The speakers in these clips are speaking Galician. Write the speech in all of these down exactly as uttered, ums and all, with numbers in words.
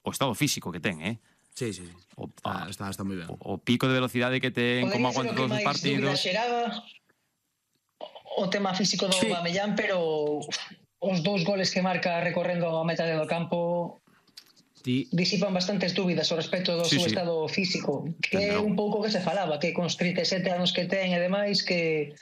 o estado físico que ten, eh? Sí, sí, sí. O, está, está, está moi ben. O, o pico de velocidade que ten, como aguanta todos os partidos. Xeraba o tema físico do sí. Aubameyang, pero os dous goles que marca recorrendo a metade do campo Ti... disipan bastantes dúbidas ao respecto do sí, seu sí. estado físico, que é un pouco que se falaba, que con trinta e sete anos que ten e demais, que,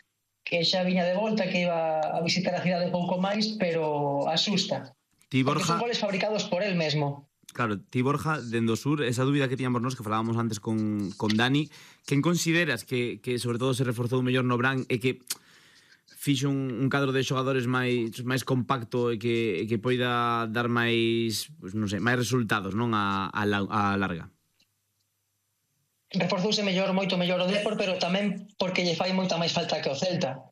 que xa viña de volta, que iba a visitar a cidade pouco máis, pero asusta. Ti, Borja... Porque son goles fabricados por él mesmo. Claro, ti, Borja, dendo sur, esa dúbida que tiñamos nos, que falábamos antes con, con Dani, quen consideras que, que sobre todo se reforzou mellor no Bran e que fixo un, un cadro de xogadores máis máis compacto e que, e que poida dar máis, pues, non sei, máis resultados, non, a, a, a larga? Reforzouse mellor, moito mellor o Depor, pero tamén porque lle fai moita máis falta que o Celta.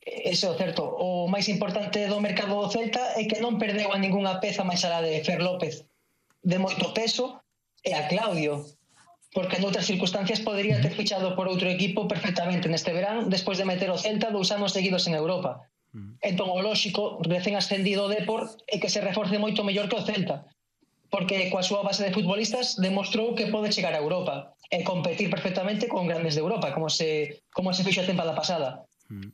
Ese é o certo. O máis importante do mercado do Celta é que non perdeu a ningunha peza máis alá de Fer López de moito peso e a Claudio, porque en outras circunstancias podería ter fichado por outro equipo perfectamente neste verán, despois de meter o Celta dous anos seguidos en Europa. Uh-huh. Entón, o lóxico, recén ascendido o Depor, é que se reforce moito mellor que o Celta, porque coa súa base de futbolistas demostrou que pode chegar a Europa e competir perfectamente con grandes de Europa, como se, como se fixo a tempada pasada. Uh-huh.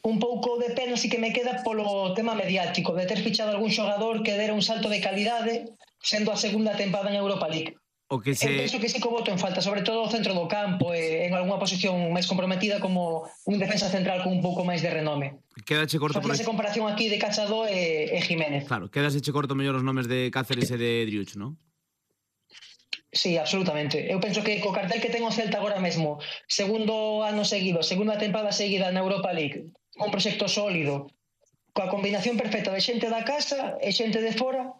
Un pouco de pena si que me queda polo tema mediático, de ter fichado algún xogador que dera un salto de calidade sendo a segunda tempada en Europa League. O que se... Eu penso que sí que o voto en falta, sobre todo o centro do campo e en algunha posición máis comprometida como un defensa central con un pouco máis de renome. Quédache corto por esa comparación aquí de Cachado e, e Jiménez. Claro, quédache corto mellor os nomes de Cáceres e de Driuch, non? Sí, absolutamente. Eu penso que co cartel que ten o Celta agora mesmo, segundo ano seguido, segunda tempada seguida na Europa League, un proxecto sólido, coa combinación perfecta de xente da casa e xente de fora,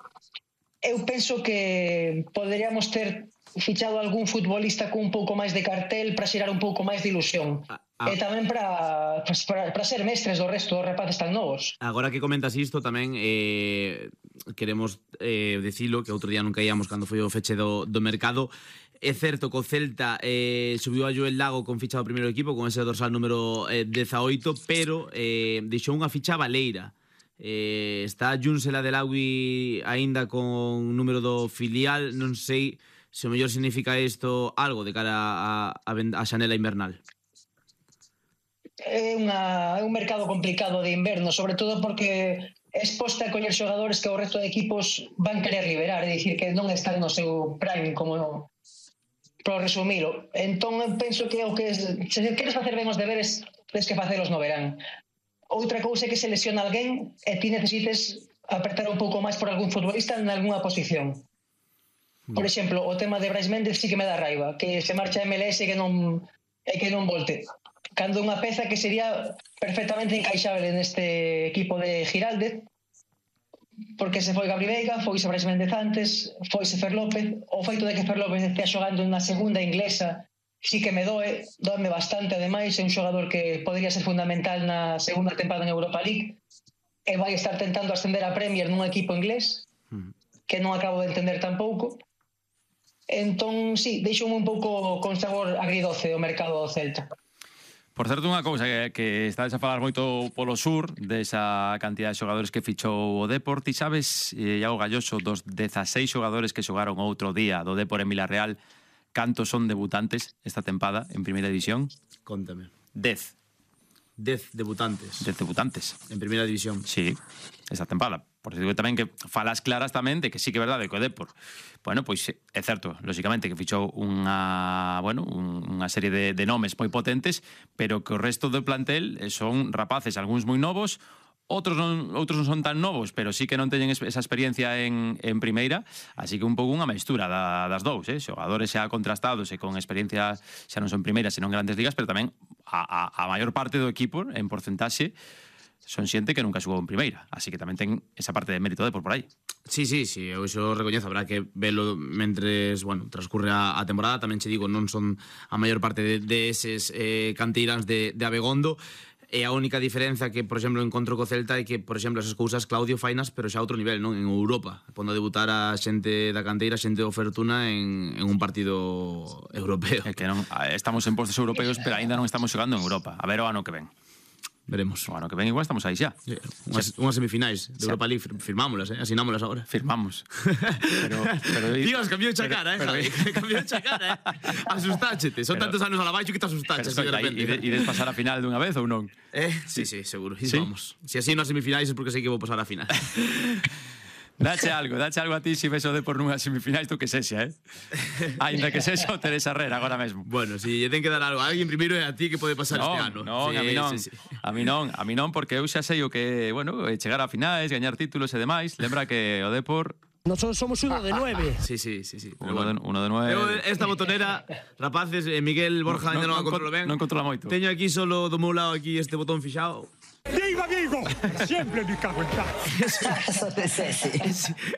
eu penso que poderíamos ter fichado algún futbolista con un pouco máis de cartel para xerar un pouco máis de ilusión. Ah, ah. E tamén para, para, para ser mestres do resto dos rapaces tan novos. Agora que comentas isto tamén eh, queremos eh, decilo, que outro día non caíamos cando foi o feche do, do mercado. É certo que o Celta eh, subiu a Joel Lago con ficha do primeiro equipo, con ese dorsal número eh, dezaoito, pero eh, deixou unha ficha baleira. Eh, está Junsel Adelawi aínda con número do filial, non sei se o mellor significa isto algo de cara a, a, a xanela invernal. É, unha, é un mercado complicado de inverno, sobre todo porque é exposta a coller xogadores que o resto de equipos van querer liberar, é dicir, que non están no seu prime, como para resumilo. Entón, penso que o que se queres facer ben os deberes, tens que facelos no verán. Outra cousa é que se lesiona alguén e ti necesites apertar un pouco máis por algún futbolista en algunha posición. Por exemplo, o tema de Brais Méndez sí que me dá raiva, que se marcha a M L S e que non, e que non volte. Cando unha peza que sería perfectamente encaixable neste equipo de Giraldez, porque se foi Gabri Veiga, foise Brais Méndez antes, foise Fer López, o feito de que Fer López estea xogando na segunda inglesa sí que me doe, doeme bastante, ademais, é un xogador que podría ser fundamental na segunda tempada en Europa League e vai estar tentando ascender a Premier nun equipo inglés que non acabo de entender tampouco. Entón, sí, deixoume un pouco con sabor agridoce o mercado do Celta. Por certo, unha cousa que, que estades a falar moito polo sur desa cantidad de xogadores que fichou o Depor. Ti sabes, Iago Galloso, dos dezaseis xogadores que xogaron outro día do Depor en Vilarreal, cantos son debutantes esta tempada en Primeira División? Contame. Dez. Dez debutantes. Dez debutantes. En Primeira División. Sí, esta tempada. Por eso digo tamén que falas claras tamén de que sí que é verdade que o Depor, bueno, pois é certo, lógicamente que fichou unha, bueno, unha serie de, de nomes moi potentes, pero que o resto do plantel son rapaces, algúns moi novos, outros non, outros non son tan novos, pero sí que non teñen esa experiencia en, en primeira, así que un pouco unha mestura da, das dous, eh? Xogadores xa contrastados e con experiencia xa non son primeiras, senón grandes ligas, pero tamén a, a, a maior parte do equipo, en porcentaxe, son xente que nunca xugou en primeira, así que tamén ten esa parte de mérito de por por aí. Sí, sí, sí, eu iso recoñezo, habrá que velo mentres, bueno, transcurre a, a temporada. Tamén che digo, non son a maior parte de, de eses eh, canteiráns de, de Abegondo. E a única diferenza que, por exemplo, encontro co Celta é que, por exemplo, esas cousas Claudio fainas, pero xa a outro nivel, non? En Europa, pondo a debutar a xente da canteira, xente do Fortuna en, en un partido europeo. É que non, estamos en postos europeos, pero aínda non estamos xogando en Europa. A ver o ano que ven. Veremos. O ano que ven igual estamos aí xa. Sí, unhas, unhas semifinais de Europa League, firmámolas, eh? Asinámolas agora. Firmamos. Pero, pero, Dios, cambiou xa pero- cara, eh, pero- Javi. Cambiou xa cara, eh. Asustáchete. Son Pero- tantos anos a la baixo que te asustaches pero así de aí, repente. ide- ides pasar a final dunha vez ou non? Eh? Sí, sí, seguro. Y ¿Sí? vamos. Si así nas semifinais é porque sei que vou pasar a final. Dache algo, dache algo a ti se ves o de por nunha semifinais tú que sexa, eh? Ainda que sexa o Teresa Herrera agora mesmo. Bueno, si lle ten que dar algo a alguén primeiro é a ti que pode pasar este ano. Non, Sí, a mí non, sí, sí. a mí non, a mí non, porque eu xa sei o que, bueno, eh, chegar a finais, gañar títulos e demais. Lembra que o Depor Nosotros somos uno de nueve. Sí, sí, sí, sí. Pero uno de, bueno. uno de nueve. Eu, esta botonera, rapaces, eh, Miguel Borja ainda non a controlo ben. Non controla moito. Teño aquí solo do meu lado aquí este botón fixado. ¡Viva Vigo! Siempre me cago en tal. Ese,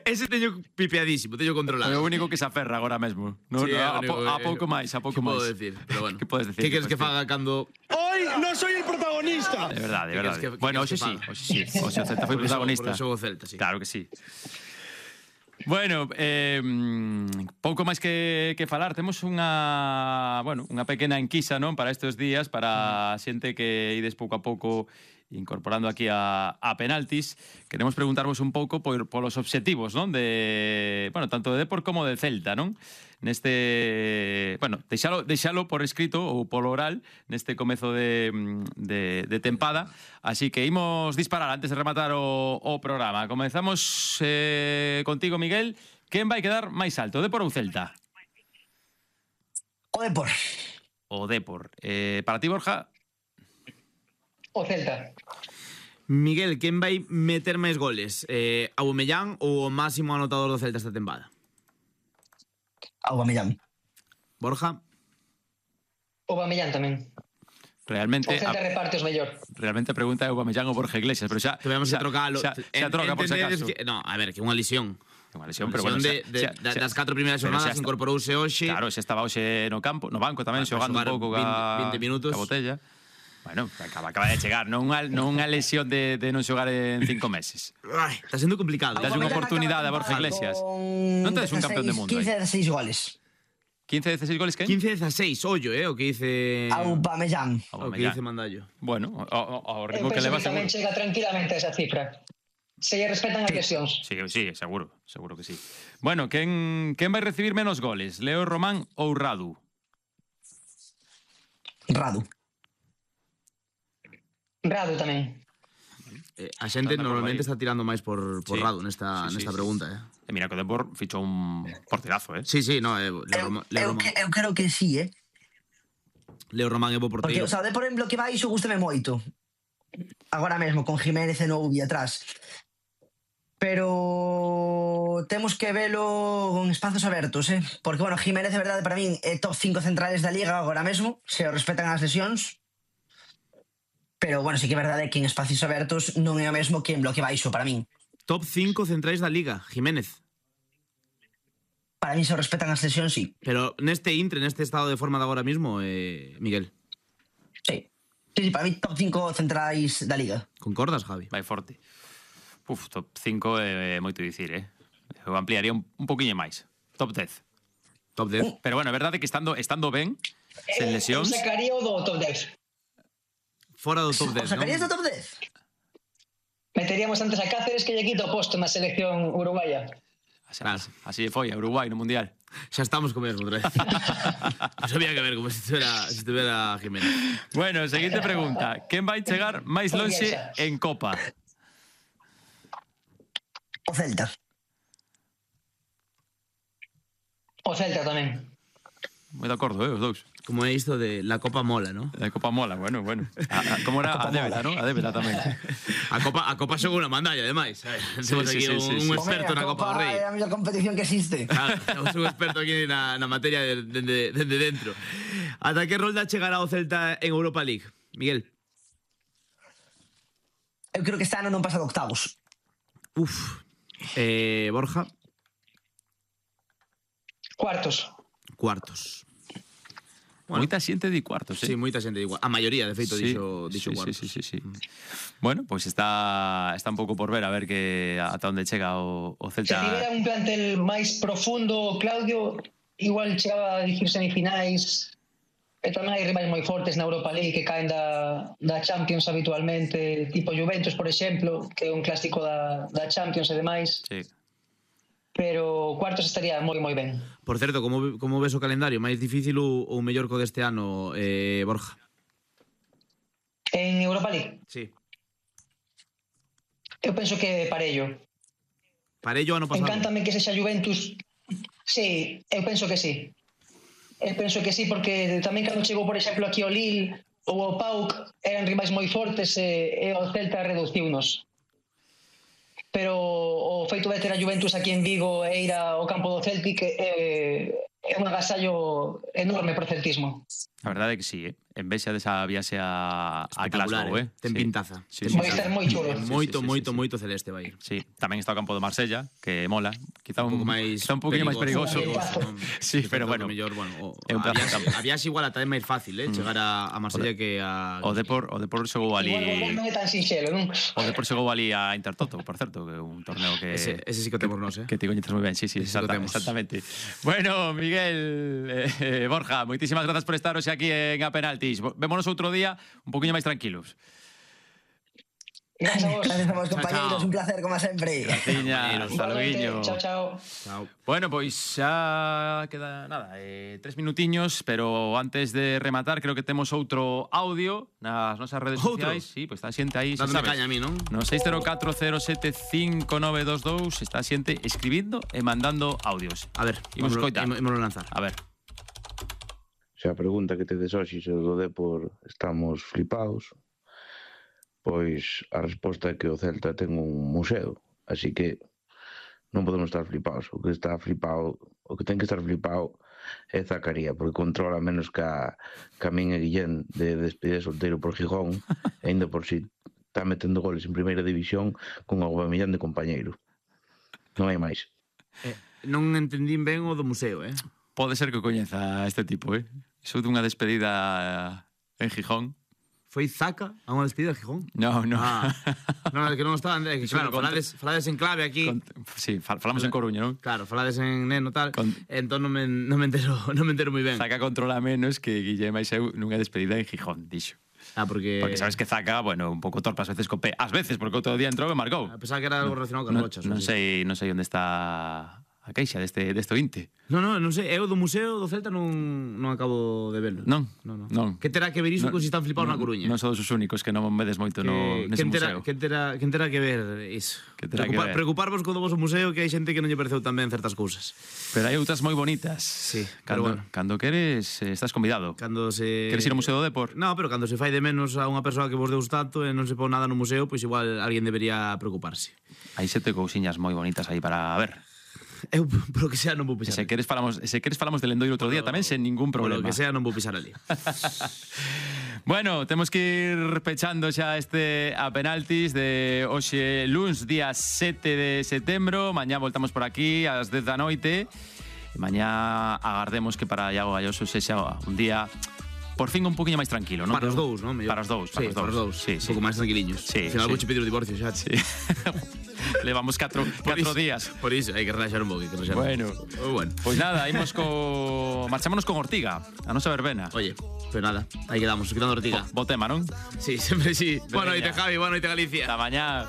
ese teño pipeadísimo, teño É o controlado. único que se aferra agora mesmo. No, Sí, é a, o único po, a que- pouco máis, a pouco que máis. podo decir, pero bueno. Que podes decir? Que queres que podes faga cando... Hoy no soy el protagonista. De verdade, de Que verdade. queres que- Bueno, que hoxe queres sí, que hoxe sí. Hoxe o Celta foi Por eso- protagonista. por eso o Celta, sí. Claro que sí. Bueno, eh, mm, pouco máis que, que falar. Temos unha, bueno, unha pequena enquisa, non, para estes días, para a xente que ides pouco a pouco incorporando aquí a, a penaltis. Queremos preguntarvos un pouco por, polos obxectivos, non, de, bueno, tanto de Depor como de Celta, non? Neste, bueno, deixalo, deixalo por escrito ou polo oral neste comezo de, de, de tempada. Así que imos disparar antes de rematar o, o programa. Comezamos eh, contigo, Miguel. Quen vai quedar máis alto, Depor ou Celta? O Depor. O Depor. Eh, para ti, Borja? O Celta. Miguel, quen vai meter máis goles? Eh, Aubameyang ou o máximo anotador do Celta esta tempada? Aubameyang. Borja? O Bamellán tamén. Realmente O Celta a, reparte os mellor. realmente a pregunta é Aubameyang ou Borja Iglesias, pero xa Que veamos xa, que trocalo. xa, xa troca por si Entendedes acaso. que- No, a ver, que unha lesión. Unha lesión, Unha pero bueno, lesión xa- de, de, xa- da- xa- das catro primeiras pero xa jornadas está. incorporouse hoxe. Claro, xa estaba hoxe no campo, no banco tamén, Vai xogando un xogar pouco vinte- ca, vinte minutos. ca botella. Bueno, acaba, acaba de chegar, non unha, non unha lesión de, de non xogar en cinco meses. Ai, está sendo complicado. Das unha oportunidade a Borja Iglesias. Non tedes un campeón de mundo aí. quince a dezasseis goles. quince, dieciséis goles, que? quince a dezasseis, ollo, eh, o que dice... Aubameyang. O que dice Mandallo. Bueno, o, o, o Eu ritmo que penso leva que tamén seguro. chega tranquilamente a esa cifra. Se lle respetan as lesións. Sí, sí, seguro, seguro que sí. Bueno, quen, quen vai recibir menos goles? Leo Román ou Radu? Radu. Radu tamén. Eh, a xente Anda por normalmente aí. está tirando máis por, por Sí. Radu nesta, Sí, sí, nesta sí, pregunta, eh. E mira que o Depor fichou un porterazo, eh? Sí, sí, no, eh, Leo, Eu, Roma, Leo, eu, Román, que- eu creo que sí, eh? Leo Román é bo Porque, porteiro. o sea, o Depor en bloque baixo gústame moito. Agora mesmo, con Jiménez e Noubi atrás. Pero temos que velo con espazos abertos, eh? Porque, bueno, Jiménez, de verdade, para min é top cinco centrales da Liga agora mesmo, se o respetan as lesións. Pero, bueno, sí que é verdade que en espacios abertos non é o mesmo que en bloque baixo, para min. Top cinco centrais da Liga, Jiménez. Para min se o respetan as lesións, sí. Pero neste intre, neste estado de forma de agora mismo, eh, Miguel, Sí. Sí, sí, para mí top cinco centrais da Liga. concordas, Javi? Vai forte. Uf, top cinco é moito dicir, eh? Eu ampliaría un, un poquinho máis. Top dez. Top dez. Pero bueno, é verdade que estando estando ben, sen Eu lesións, sacaría o do top dez. Fora do top O dez, sacarías do non? top dez? Meteríamos antes a Cáceres que lle quita o posto na selección uruguaya. así, Claro. así foi, a Uruguai no Mundial. Xa estamos con mesmo outra vez. Non sabía que ver como se estuviera, se estuviera Jiménez. Bueno, seguinte pregunta. Quen vai chegar máis lonxe en Copa? O Celta. O Celta tamén. Moi de acordo, eh, os dous. Como é isto de la Copa mola, ¿no? A Copa mola, bueno, bueno. A, a, como era a, a débeda, non? A débeda tamén. A Copa, a Copa según a mandalla, ademais. Eh, Temos sí, aquí sí, un, sí, un sí. experto Hombre, na a Copa do Rei. É a mellor competición que existe. Claro, temos un experto aquí na, na materia de, de, de, de, de dentro. Ata que rolda chegará o Celta en Europa League? Miguel. Eu creo que este ano non pasa de octavos. Uf. Eh, Borja. Cuartos. Cuartos. Bueno. Moita xente di cuartos, eh? Sí, moita xente igual. A maioría, de feito, Sí, dixo, dixo sí, cuartos. sí, sí, sí, sí. Bueno, pois pues está está un pouco por ver a ver que ata onde chega o, o Se Celta. tivera un plantel máis profundo, Claudio, igual chegaba a dicir semifinais E tamén hai rivais moi fortes na Europa League que caen da, da Champions habitualmente, tipo Juventus, por exemplo, que é un clásico da, da Champions e demais. Sí. Pero cuartos estaría moi, moi ben. Por certo, como, como ves o calendario? Máis difícil ou, ou mellor co deste ano, eh, Borja? En Europa League, Sí. eu penso que parello. Parello ano pasado. Encántame que sexa Juventus. Sí, eu penso que sí. Eu penso que sí, porque tamén cando chegou, por exemplo, aquí o Lille ou o P A O C eran rivais moi fortes e, e o Celta reduciunos. Pero o feito de ter a Juventus aquí en Vigo e ir ao campo do Celtic é, é un agasallo enorme pro celtismo. A verdade é que sí, eh? En vez desa viaxe a, a Espectacular, Glasgow, eh? Ten Sí. pintaza. Sí, Ten sí, Vai sí. estar moi chulo. Moito, sí, sí, moito, sí. moito celeste vai ir. Sí, tamén está o campo do Marsella, que mola. Quizá un, Un pouco máis quizá un poquinho máis perigoso. perigoso. non? Sí, Que pero tanto bueno, mellor, bueno, o, é un a, pedazo de viaxe, campo. a viaxe igual ata é máis fácil, eh, chegar a, a Marsella que a... O Depor, o Depor xogou ali. Igual non é tan sinxelo, non? O Depor xogou ali a Intertoto, por certo, que é un torneo que Ese, ese sí que o temos nós, eh? que te coñeces moi ben, sí, sí, Ese sí que o exacta, temos. exactamente. Bueno, Miguel, eh, eh, Borja, moitísimas grazas por estar hoxe aquí en A Penaltis. Vémonos outro día un poquinho máis tranquilos. Gracias a vos. Gracias a vos, Chao, compañeros, chao. un placer, como sempre. Tiña, hasta luego. Chao, chao. Chao. Bueno, pois xa queda nada, eh, tres minutiños, pero antes de rematar creo que temos outro audio nas nosas redes Outro? sociais. Sí, pois está a xente aí, xa Dándome sabes. caña a mí, non? No seis cero catro cero sete cinco nove dos dous está a xente escribindo e mandando audios. A ver, Imos ímolo- coitar. ímolo- ímolo lanzar. A ver. Se a pregunta que tedes hoxe se o do Depor estamos flipados, pois a resposta é que o Celta ten un museo, así que non podemos estar flipados. O que está flipado, o que ten que estar flipado é Zacaría, porque controla menos que a, que a min e Guillén de despedida solteiro por Gijón, e ainda por si está metendo goles en primeira división con o Aubameyang de compañeiro. Non hai máis. Eh, non entendín ben o do museo, eh? Pode ser que o coñeza este tipo, eh? Iso dunha despedida en Gijón. Foi Zaca a unha despedida de Gijón? No, no. Ah, non, é que non estaban, é que Iso claro, no conto. falades, falades en clave aquí. Con, sí, fal- falamos en Coruña, non? Claro, falades en neno tal, Con- entón non me, non me entero, non me entero moi ben. Zaca controla menos que Guillem e eu nunha despedida en Gijón, dixo. Ah, porque Porque sabes que Zaca, bueno, un pouco torpe ás veces co pé. Ás veces, porque outro día entrou e marcou. A pesar que era algo relacionado con Non, rochas. non ou así. sei, non sei onde está a queixa deste, deste ointe. Non, non, non sei, eu do museo do Celta non, non acabo de verlo. Non, non, non. non. Que terá que ver iso Non, con si están flipados non, na Coruña? Non sodes os únicos que non vedes moito no, que, nese quen terá, museo. quen terá, quen terá que ver iso? Que terá que ver. Preocuparvos co do voso museo, que hai xente que non lle pareceu tan ben certas cousas. Pero hai outras moi bonitas. Sí, cando, pero bueno. Cando queres, eh, estás convidado. Cando se... Queres ir ao Museo do Depor? No, pero cando se fai de menos a unha persoa que vos deus tanto e non se pon nada no museo, pois igual alguén debería preocuparse. Hai sete cousiñas moi bonitas aí para ver. Eu, polo que sea, non vou E pisar. se queres falamos, se queres falamos del Lendoiro outro día tamén sen ningún Polo problema. que sea, non vou pisar ali. Bueno, temos que ir pechando xa este a penaltis de hoxe luns, día sete de setembro. Mañá voltamos por aquí ás dez da noite. E mañá agardemos que para Iago Galloso sexa un día por fin un poquinho máis tranquilo, non? Para os dous, non? Mellor. Para os dous, para sí, os dous. Para os dous. Sí, Un sí. pouco máis tranquiliños. Sí, Al final sí. vouche pedir o divorcio xa. Sí. Levamos catro, Por catro iso- días. Por iso, hai que relaxar un pouco, hai que relaxar Bueno. un pouco. Bueno. Pois nada, imos co... Marchámonos con Ortiga, a nosa verbena. Oye, pero nada, aí quedamos, quedando Ortiga. Bo tema, non? Sí, sempre sí. Boa Veña. noite, Javi, boa noite, Galicia. Ata mañá.